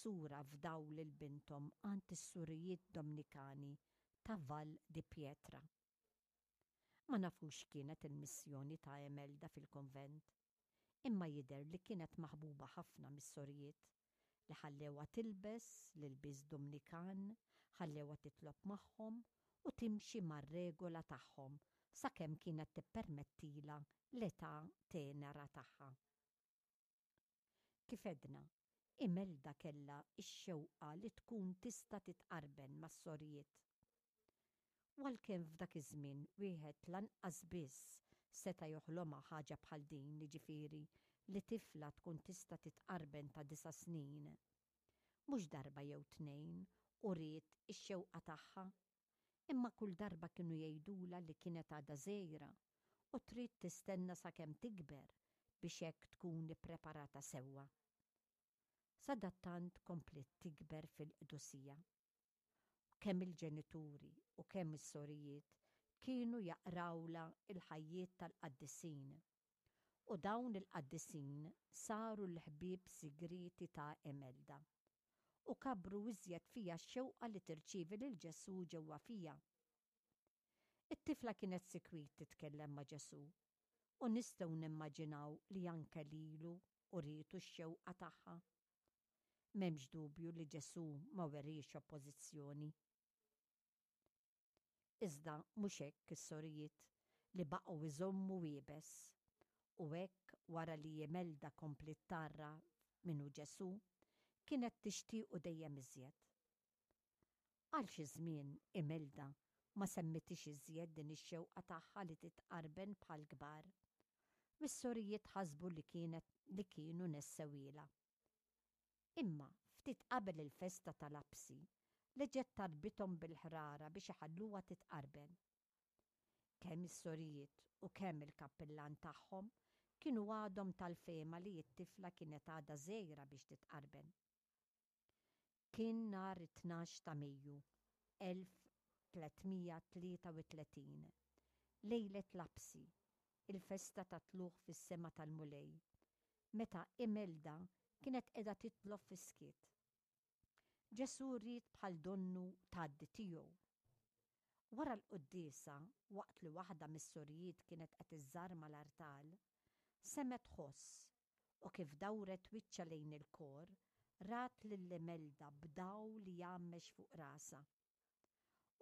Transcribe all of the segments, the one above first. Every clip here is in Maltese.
sura fdaw lil binthom għand is-surijiet Domnikani ta' Val di Pietra. Ma nafux x'kienet il-missjoni ta' Imelda fil-kunvent, imma jidher li kienet maħbuba ħafna mis-sorijiet, li ħallewha tilbes l-ilbies Dumnikan, ħallewha titlob magħhom u timxi mar-regola tagħhom sakemm kienet tippermettilha l-età tenera tagħha. Kif għedna, Imelda kellha x-xewqa li tkun tista' titqarben mas-sorijiet. U għalkemm f'dak iż-żmien wieħed lanqas biss seta' joħlomha ħaġa bħal din, jiġifieri li tifla tkun tista' titqarben ta' disa' snin, mhux darba jew tnejn uriet ix-xewqa tagħha, imma kull darba kienu jgħidulha li kienet għadha żgħira u trid tistenna sakemm tikber biex hekk tkun ippreparata sewwa. Sadattant kompliet tikber fil-qdusija. Kemm il-ġenituri u kemm is-sorijiet kienu jaqrawlha l-ħajjiet tal-qaddisin. U dawn il-qaddisin saru l-ħbieb sigrieti ta' Imelda. U kabbru iżjed fiha x-xewqa li tirċievi lil Ġesù ġewwa fiha. It-tifla kienet sikwit titkellem ma' Ġesù, u nistgħu nimmaġinaw li anke lilu urietu x-xewqa tagħha. M'hemmx dubju li Ġesù ma weriex oppożizzjoni. Iżda mhux hekk is-sorijiet li baqgħu jżommu iebes, u hekk wara li Imelda kompliet tgħarraf min hu Ġesù, kienet tixtiequ dejjem iżjed. Għal xi żmien Imelda ma semmitix iżjed din ix-xewqa tagħha li titqarben bħall-kbar, u s-sorijiet ħasbu li kienet li kienu nessewhielha. Imma ftit qabel il-festa ta' Lapsi, reġgħet talbithom bil-ħrara biex iħalluha titqarben. Kemm is-sorijiet u kemm il-kappillan tagħhom kienu għadhom tal-fehma li t-tifla kienet għadha żgħira biex titqarben. Kien nhar it-tnax ta' Mejju 1333, lejlet Lapsi, il-festa tat-Tlugħ fis-Sema tal-Mulej, meta Imelda kienet qiegħda titlob fis-skiet. Ġesù ried bħal donnu tgħaddi tiegħu. Wara l-quddiesa, waqt li waħda mis-sorijiet kienet qed iżżarma l-artal, semgħet ħoss u kif dawret wiċċha lejn il-kor, rat lil Imelda b'dawl li jgħammex fuq rasha.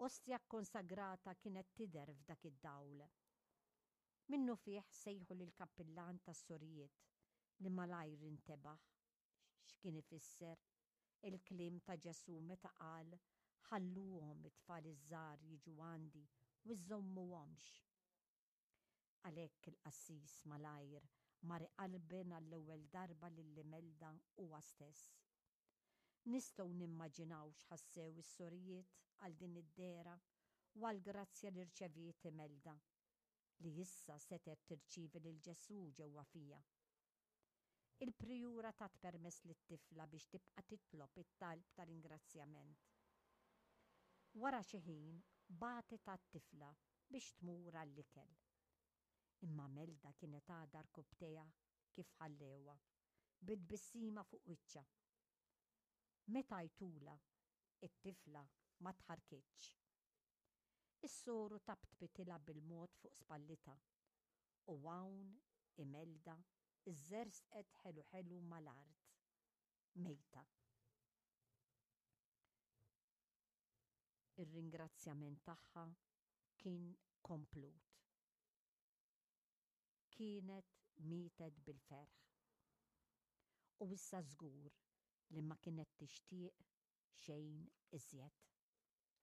Ostja kkonsagrata kienet tidher f'dak id-dawl. Minnufih sejħu lill-kappillan tas-sorijiet li malajr intebaħ x'kien ifisser il-kliem ta' Ġesù meta qal, Ħalluhom it-tfal iż-żgħar jiġu għandi u żżommuhomx. Għalhekk il-qassis malajr mar iqarben għall-ewwel darba lil Imelda huwa stess. Nistgħu nimmaġinaw x'ħassew is-sorijiet għal din id-dehra u għall-grazzja li rċeviet Imelda, li issa setgħet tirċievi lil Ġesù ġewwa fiha. Il-prijura tat permess lit-tifla biex tibqa' titlob it-talb ta' ringrazzjament. Wara xi ħin bagħtet għat-tifla biex tmur għall-ikel. Imma Melda kienet għadha rkubbtejha kif ħallewha, bi tbissima fuq wiċċha. Meta għajtulha, it-tifla ma tħarrkitx. Is-soru taptpitilha bil-mod fuq spallitha u hawn Imelda żżerżqet ħelu ħelu mal-art, mejta. Ir-ringrazzjament tagħha kien komplut. Kienet mietet bil-ferħ. U issa żgur li ma kienet tixtieq xejn iżjed.